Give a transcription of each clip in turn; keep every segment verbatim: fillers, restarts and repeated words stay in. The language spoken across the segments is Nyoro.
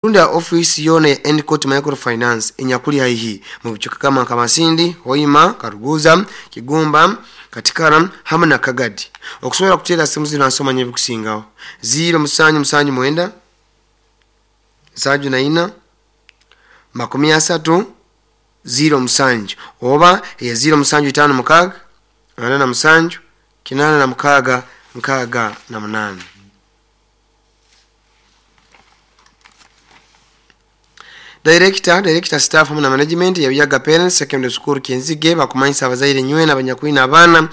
Rundi ofisi yona ya Endicott Microfinance enyakuli haihi mu bicuka kama Kamasindi, Hoima, Karuguza, Kigumba, Katikara hamwe na Kagadi. Okusobola kuteera simu zino nsoma nyebikusingaho ziro musanju musanju mwenda nsanju na ina makumi asatu ziro musanju oba ya ziro musanju itano mukaaga ana na musanju kinana na mukaaga nkaaga na munana. Director, director staff hamwe na management ya Buyaga Parents Secondary School Kyenzige bakumanyisa abazaire nywena abanyakwina abaana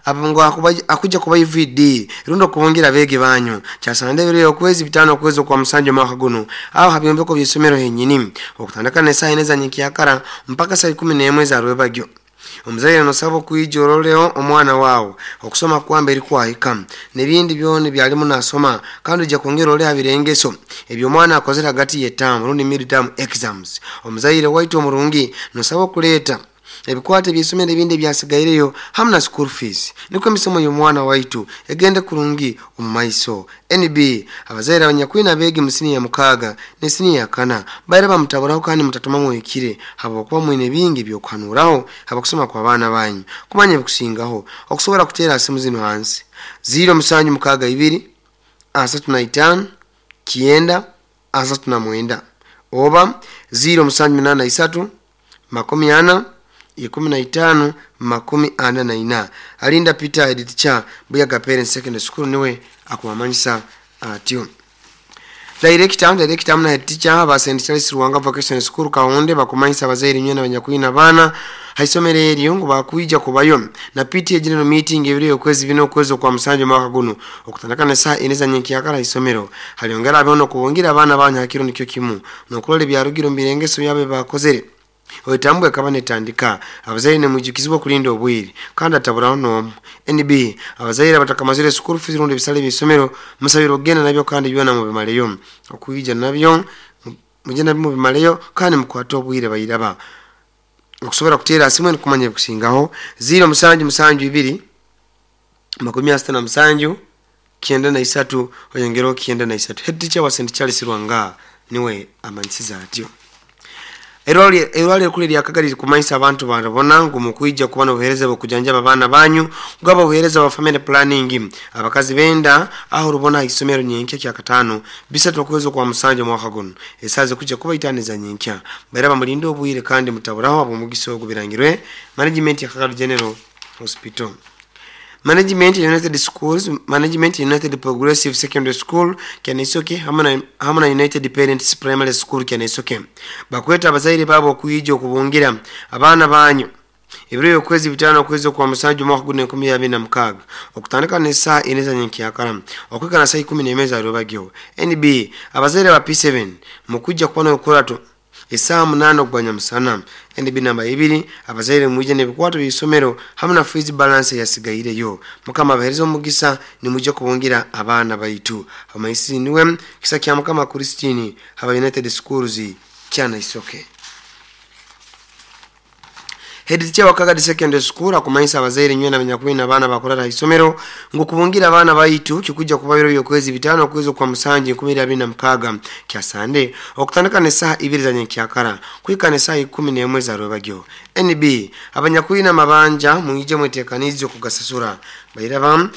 abangwa akuja kuba U V D rundo kubongira bege banyu kyasande biro okwezi bitano okwezi kwa musanju mwaka guno aho habyombeko by'isomero henyini okutandika ne saa ine za nyikyakara mpaka saa ikumi n'emwe za rwebagyo. Omuzaire nosaba okwijoroleo omwana wawo okusoma kwamba eri kwahika n'ebindi byone byalimu nasoma kandi ojja kwongera ole abirengeso ebyo omwana akozera hagati y'ettamu rundi mid-term exams. Omuzaire waitu omurungi nosaba okuleeta ebikwate by'isomero ebindi ebyasigaireyo hamwe na school fees niko emisomo y'omwana waitu egende kurungi omu maiso. N B abazaire abanyakwina abeegi mu siniya mukaaga ne siniya ya kana baire bamutaburaho kandi mutatuma mwekire habwokuba mwine bingi by'okuhanuraho habakusoma kwa baana banyu kumanya ebikusingaho okusobola kuteera simu zino hansi ziro musanju mukaaga ibiri asatu na itaano kyenda asatu na mwenda oba ziro musanju munana isatu makumi ana ikumi na itano makumi ana na ina. Alinda Peter head teacher Buyaga Parents Secondary School niwe akuwamanyisa atyo. Director, director amna head teacher ba Saint Charles Ruwanga Vocational School Kaonde bakumanyisa abazaire nywena abanyakwina abaana haisomero eryo ngu bakwija kubayo na P T A general meeting ebiri okwezi bino okwezi kwa musanju mwaka guno okutandika ne saa ine za nyenkyakara haisomero haliongera abeho kubongira abaana banyu hakiro nikyo kimu nokulola ebyarugiro mu birengeso byabe bakozere. Oyetambwe kaba netandika abazaire ne mujukizibwa kulinda obwiri kandi ataburaho n'omu. N B abazaire abatakamazire school fees rundi ebisale by'isomero musabira ogenda nabyo kandi byona mubimaleyo okuyija nabyo muje nabyo mubimaleyo kandi mukwate obwire bayiraba. Okusobola kuteera simu eno kumanya ebikusingaho ziro musanju musanju ibiri makumi asatu na musanju kyenda na isatu oyongereho kyenda na isatu. Head teacher wa Saint Charles Ruwanga niwe amanyisiza atyo. Erwali kule lya Kagadi kumanyisa abantu barabona ngu mukwija kuba n'obuheereza bw'okujanjaba abaana banyu ngaba obuheereza bwa family planning abakazi benda aho rubona isomero nyenkya kya katano bisatu okwezi kwa musanju mwaka guno esaze kujja kuba itaniza nyenkya baira bamulinde obwire kandi mutaburaho ab'omugisa ogwo birangirwe management ya Kagadi General Hospital. Management United Schools, Management United Progressive Secondary School Kyanisoke hamwe na United Parents Primary School Kyanisoke bakweta abazaire babo okuyija okubungira abaana banyu ebiro okwezi bitano okwezi kwa musanju mwaka guno enkumi abiri na mukaaga okutandika ne saa ine za nyenkyakara okwika na saa ikumi n'emwe za rwebagyo. N B abazaire ba P seven mukujja kuba n'okurato esaa munana ogwanya musana. N B namba ibiri abazaire mwije n'ebikwato by'isomero hamwe na fees balance yasigaireyo. Mukama abahereze omugisa nimujja kubungira abaana baitu. Amaisi niwe kisa kya Mukama Christine haba United Schools Kyanisoke. Head teacher wa Kagadi Secondary School akumanyisa abazaire nywena abanyakwina abaana bakurara isomero ngu kubungira abaana baitu kikujja kuba biro by'okwezi bitano okwezi kwa musanju enkumi abiri na mukaaga kya Sande okutandika ne saa ibiri za nyenkyakara kwika ne saa ikumi n'emwe za rwebagyo. N B abanyakwina amabanja mwije mwetekanize okugasasura bairaba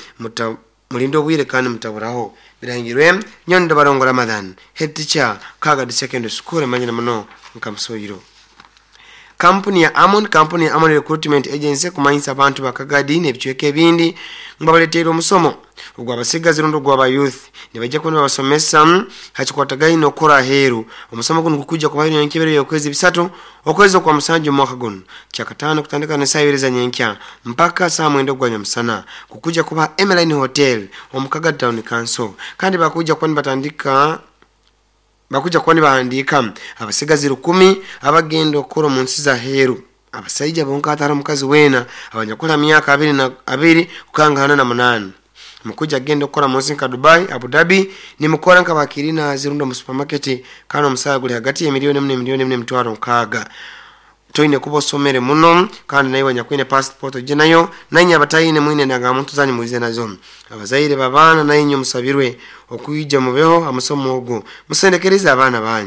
mulinde obwire kandi mutaburaho birangirwe Nyondo Barongo Ramadhan head teacher Kagadi Secondary School emanyina muno nkamusoyiro. Kampuni ya Amon, kampuni ya Amon Recruitment Agency kumanyisa abantu bakagadi n'ebicweka ebindi ngabaleteera omusomo ogwa abasigazi rundi ogwa youth nibajja kuba nibabasomesa hakikwatagaine n'okukora aheeru. Omusomo guno gukujja kubaho enkebero y'okwezi bisatu okwezi kwa musanju mwaka guno kyakataano kutandika ne saa ibiri za nyenkya mpaka saa mwenda ogwa nyamusana kukujja kuba Emeline Hotel omu Kagadi Town Council kandi bakujja kuba nibatandika bakuja kwani bahandika abasigazi rukumi abagenda okukora mu nsi za heru abasajja bonka atari omukazi wena abanyakula myaka abiri na abiri kukangana na munana mukuja agenda okukora mu nsi nka Dubai, Abu Dhabi nimukora nka bakirina zirundo mu supermarket kandi omusaga guli hagati ya miliyoni emwe miliyoni emwe emitwaro nkaaga. Toine kuba osomere muno, kandi naiwe anyakwine passport ojje nayo, nainywe abataine mwine endagamuntu zanyu mwize nazo. Abazaire b'abaana nainywe musabirwe okwija mubeho ha musomo ogu, musendekereze abaana banyu.